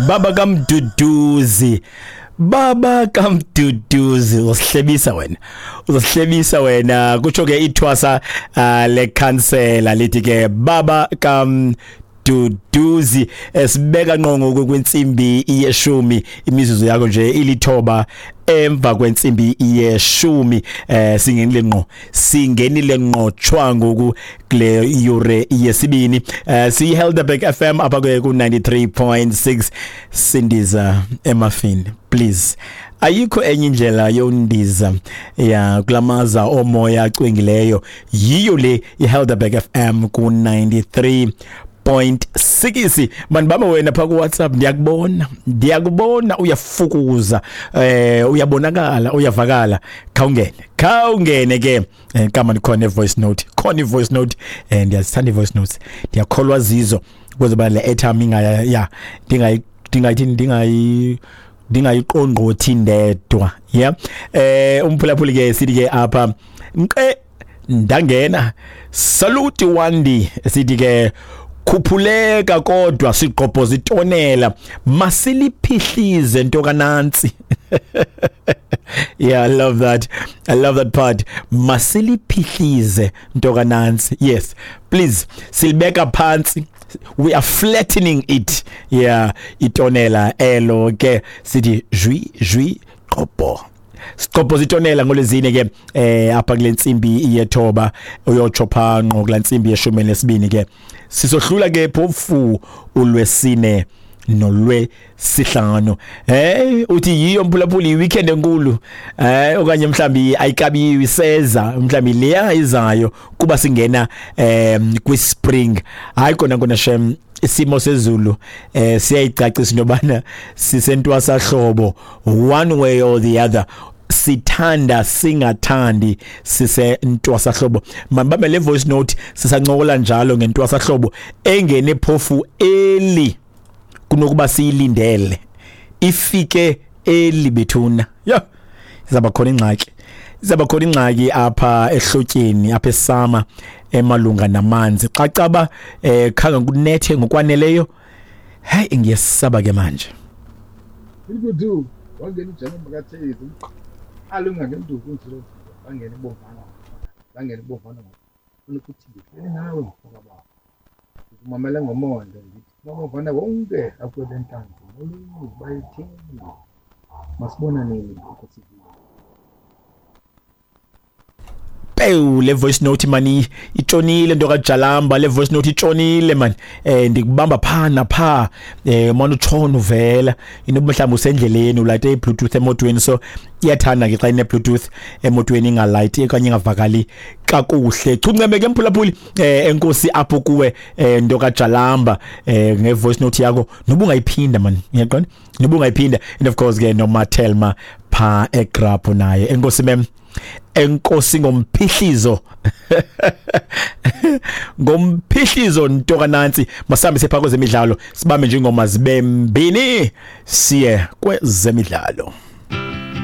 Baba kaMduduzi, baba kaMduduzi, uzosihlebisa wena, uzosihlebisa wena. Kutsho ke ithwasa le khansela lithi ke baba kaMduduzi. Esibeka ngqo ngoku kwintsimbi yeshumi, imizuzu yakho nje 9 emva kwentsimbi yeshumi. Singenile ngqo, singenile ngqo tshwa ngoku kule yure yesibini. Siyi Helderberg FM apha ke ku 93.6. Sindiza emafini, please. Ayikho enye indlela yondiza ya kulamaza omoya acwengileyo, yiyo le iHelderberg FM ku 93.6. Manibambe wena pha ku WhatsApp, ndiyakubona, ndiyakubona uyafukuza, uyabonakala, uyavakala. Khawungene, khawungene ke. Kama ndikhona voice note, khona voice note. Ndiyazithanda voice notes, ndiyakholwa zizo ukuze ba le airtime ingaya ya ndingayi ndingayithi ndingayi ndingayiqongqothi ndedwa. Yeah, umphulaphuli ke sithi ke apha nqe ndangena. Salute Wandi, sithi ke khuphuleka kodwa sigqobhoza itonela, masiliphihlize nto kanantsi. Yeah, I love that, I love that part. Masiliphihlize nto kanantsi. Yes, please, silibeka phansi, we are flattening it. Yeah, itonela elo ke sithi jwi jwi qobho, sigqobhoza itonela ngolezine ke apha kule ntsimbi yethoba uyotsho pha ngqo kula ntsimbi yeshumi nesibini ke. Sisohlula ke phofu ulwesine nolwesihlanu. Uthi yiyo mphulaphuli weekend enkulu, okanye mhlambi ayikabiwi seza, mhlambi leya izayo kuba singena kwi spring. Hayi kona kona shem, isimo sezulu siyayicacisa into yobana sisentwasahlobo one way or the other, sithanda singathandi sisentwasahlobo. Mabambe le voice note sisancokola njalo ngentwasahlobo engene phofu eli kunokuba siyilindele ifike eli bethuna. Yo, izaba khona ingxaki, izaba khona ingxaki apha ehlotyeni, apha esama emalunga namanzi. Xa caba khanga kunethe ngokwaneleyo, hey, ngiyesaba ke manje. Ikudu wangena ujama kaThezi alunga ngenduku nje, bangena ibomvana, bangena ibomvana ukuthi ngihleli nawe mfoka baba, ukumamela ngomonde ngithi babomvana wonke akwele ntanzi molweni bayithini, masibona nini ukuthi pew. Le voice note mani itshonile nto kaJalamba, le voice note itshonile man. Ndikubamba pha napha, manje utshona uvela inoba mhlawumbe usendleleni ulayite iBluetooth emotweni, so iyathanda ke xa ine Bluetooth emotweni ingalayiti okanye ingavakali kakuhle. Chunceme ke mphulaphuli, enkosi apho kuwe nto kaJalamba nge voice note yakho, noba ungayiphinda man, uyaqonda, noba ungayiphinda. And of course ke noMathelma pha eGrapo naye, enkosi mem, enkosi ngomphihlizo, ngomphihlizo nto kanantsi. Masambe sepha kwezemidlalo, sibambe nje ingoma zibe mbini siye kwezemidlalo.